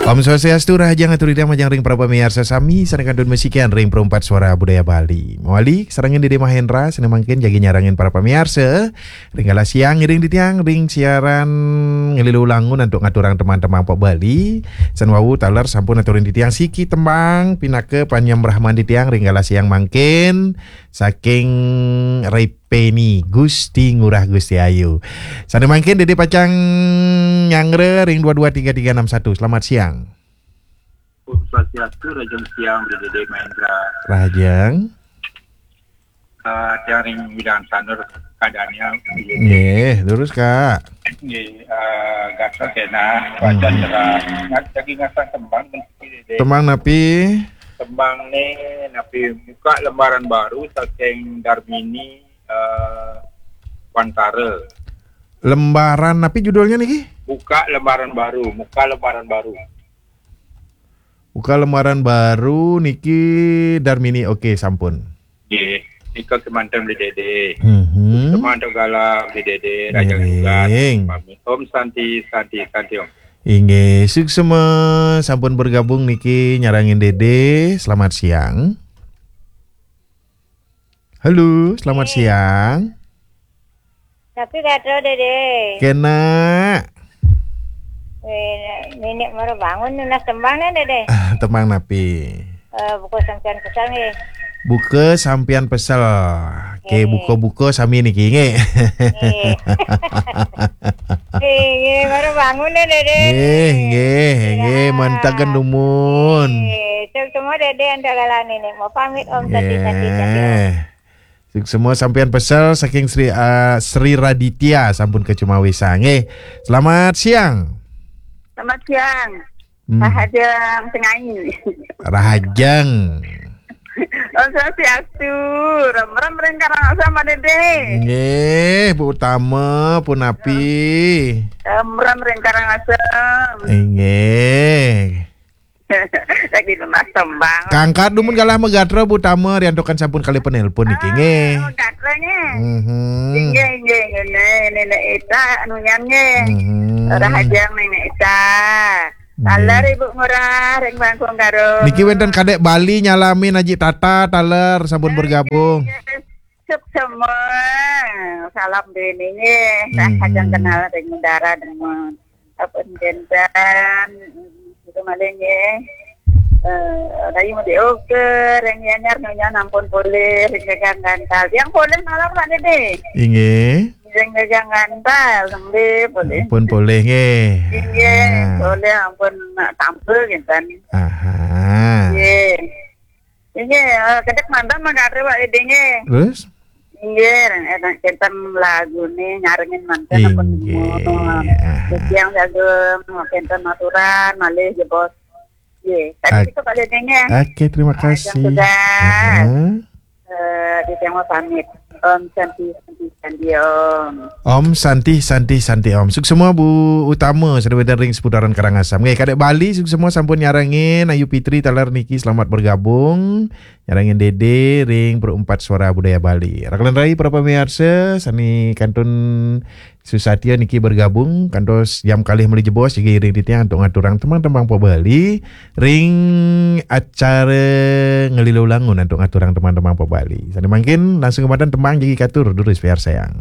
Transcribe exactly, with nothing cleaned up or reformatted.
Om Swastiastu, rahajeng atur titiang majeng ring para pamiarsa sami sané kantun masikian ring Perempat Suara Budaya Bali. Mawali sarengin Dédé Mahendra, sané mangkin jagi nyarengin para pamiarsa ring galah siang ngiring titiang ring siaran Nglilu Langun antuk ngaturang tembang-tembang pop Bali. Sané wau taler sampun aturin titiang siki tembang pinaka panyembrahman titiang ring galah siang mangkin saking Ripeni Gusti Ngurah Gusti Ayu. Sané mangkin Dédé pacang nyanggra ring dua dua tiga tiga enam satu. Selamat siang. Om Swastiastu, rahajeng siang, Dédé Mahendra. Rahajeng. Eh, tiang ring Widang Sanur, Kak Daniel. Nggih, terus, Kak. Nggih, eh, gatel kénten, Hmm. wacan cerah. Ngat-, lagi ngasah tembang, Dédé. Tembang napi? Tembang né, napi, Buka Lembaran Baru saking Darmini, eh, Wantara. Lembaran napi judulnya niki? Buka Lembaran Baru, Buka Lembaran Baru. Buka Lembaran Baru niki Darmini. Oke, sampun. Nggih, nika kémanten Dédé. Mhm. Kémanten galah Dédé, rahajeng tugas. Ngiring. Pamit. Om Santi, Santi, Santi Om. Inggih, suksma sampun bergabung niki nyarengin Dédé. Selamat siang. Halo, selamat Nggih. siang. Napi gatra, Dédé? Kéné. Wéh, Nénék mara bangun nunas tembang né, Dédé? Tembang napi? Eh, Buka Sampian Pesel nggih. Buka Sampian Pesel. Oke, Nggih. buka-buka sami niki nggih. Nggih. Nggih, nggih, mara bangun né, Dédé. Nggih, nggih, nggih, Ya. mantap kan dumun. Nggih, suksma Dédé antuk galah Nénék. Mau pamit Om, Santi, Santi, Santi Om. Nggih. Suksma Sampian Pesel saking Sri, ah, Sri Raditya sampun kacumawisang. Nggih. Selamat siang. Selamat siang. Hmm. Rahajeng Sengai. Rahajeng. Om Swastiastu. Ram-ram ring Karangasem, Dédé. Nggih, Bu Utama punapi? Ram-ram ring Karangasem. Nggih. Lagi nunas tembang. Kangkat dumun galah magatra Bu Tama, riantukan sampun kalih penelpon niki, nggih. Ah, magatra nggih. Mhm. Inggih, inggih, inggih. Nénék Ita, anu nyan nggih. Mhm. Rahajeng Nénék Ita. Nggih. Taler Ibu Ngurah, ring Bangkung Garung. Niki wénten Kadék Bali nyalamin Aji Tata, taler sampun bergabung. Nggih, nggih. Suksma. Salam déning nggih. Mhm. Rahajeng kenal ring udara dumun. Sampun kénten, itu malih nggih. Eh, Rayi Mudi Oker, ring Gianyar nyonya ampun polih, ring Gagang Gantal. Tiang polih malem, Pak Dédé. Inggih. Ring Gagang Gantal, nggih, polih. Ampun polih nggih. Inggih, Ah. polih ampun nak tampil kénten. Aha. Nggih. Inggih, eh, kedék manten mangkate, Pak Dédé nggih. Terus? Inggih, enak kénten lagune nyarengin manten ampun Inggih. Semono. Aha. Titiang jagung, kénten aturan, malih jebos. Nggih, tadi Ak-, itu Pak Dédé nggih. Oke, terima Yang kasih. Sudah. Aha. Eh, titiang mau pamit. Om Santi, Santi, Santi, Om. Om Santi, Santi, Santi, Om. Suksma Bu Utama, sané wénten ring seputaran Karangasem. Nggih, Kadék Bali, suksma sampun nyarengin Ayu Fitri taler niki, selamat bergabung. Nyarengin Dédé ring Perempat Suara Budaya Bali. Rakelan rai para pamiarsa, sané kantun susatia niki bergabung, kantos jam kalih malih jebos, jagi iring titiang antuk ngaturang tembang-tembang pop Bali ring acara Nglilu Langun antuk ngaturang tembang-tembang pop Bali. Sané mangkin langsung kemanten tembang jagi katur, durus piarsayang.